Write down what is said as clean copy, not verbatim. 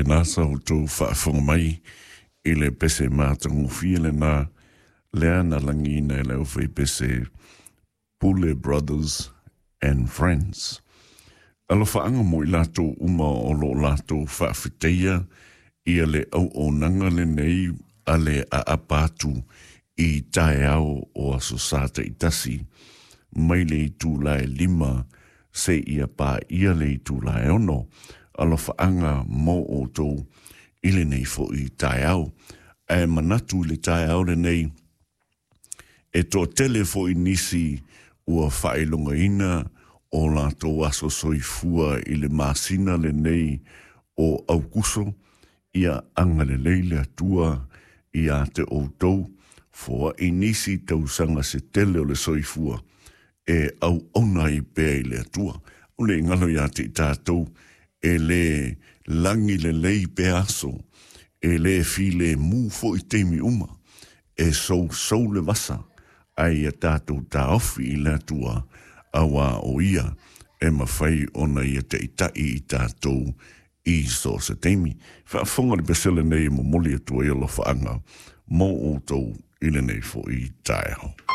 Faapena sa outou faafofoga mai i le pese matagofie lena lea na lagiina e le aufaipese Pule Brothers and Friends. Alofaaga mo i latou uma o lo o latou faafetaia ia le auaunaga lenei a le aapa atu i taeao o Aso Sa taitasi mai le itula e 5 seia paia le itula e 6. Alofaaga mo outou i lenei foi taeao. Ae manatu i le taeao lenei, e toatele foi nisi ua faailogaina o latou aso soifua i le masina lenei o Aukuso, ia agalelei le Atua ia te outou, foai nisi tausaga se tele o le soifua e auauna ai pea i le Atua. O le galo ia te i tatou, e le lagi lelei pea aso, e le filemu foi taimi uma, e sousou le vasa, ae ia tatou taofi i le Atua, auā o ia e mafai ona ia taitai i tatou i so o se taimi. Faafofoga le pese lenei e momoli atu ai alofaaga mo outou i lenei foi taeao.